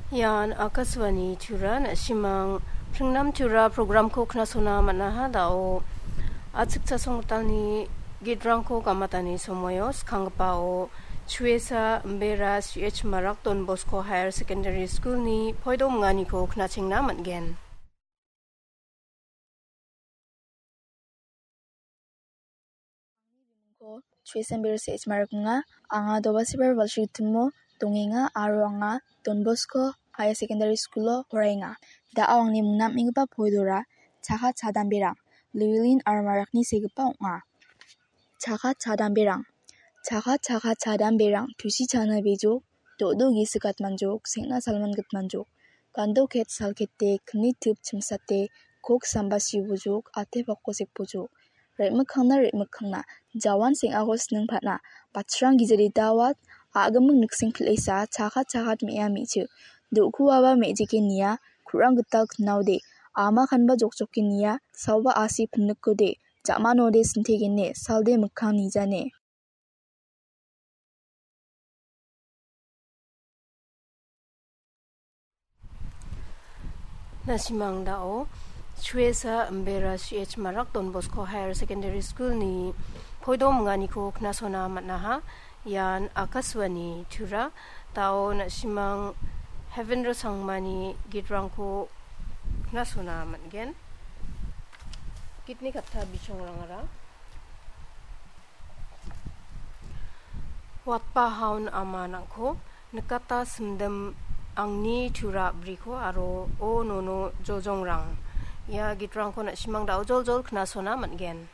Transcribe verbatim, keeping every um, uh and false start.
Ian Akashvani Tura, na·simang Pringnam Tura programko knasona man·aha dao. Achik chasonggitalni gitrangko gamatani somoio skanggipao Chuesa Mbera C H Marak Don Bosco Higher Secondary School-ni poido minganiko knachengna man·gen. Angni bimingko Chuesa Mbera C H Marak ong·a. Anga Dobasibar Balsrigitimo dongenga aro anga Don Bosco Higher Secondary School-o poraenga. Da·o angni mingnamenggipa poidora Chakat Chadamberang, Llewellyn aro Marakni segipa ong·a. Chakat Chadamberang. Chakat, chakat chadamberang, tusi chana bijok, do·do gisik atmanjok, seng·na salman gitmanjok, gando ket sal kete, kni tip chimsate, kok samba sibojok, ate pako sekbojok. Re·mikkangna, re·mikkangna, jawan seng·ako sining patna, bachrang gijari dawat, a·gimik nikseng pil·esa, chakat, chakat me·a me·chik, do·kuaba me·jike nia, ku·rang gital knaode, ama kanba jokjoke nia, saoba asi pinnikode, ja·manode sintegene, salde mikkang nijane. Na·simang dao, Chuesa Mbera C H Marak Don Bosco Higher Secondary School-ni poido minganiko knasona man·aha. Ian Akashvani Tura, dao na·simang Hevendra Sangmani gitrangko knasona man·gen. Gitni katta bichongrangara. Watpa haun ama nang·ko, nikata simdim angni tura a·briko aro o nono jojongrang. Ia gitrangko na·simang dao joljol knasona man·gen.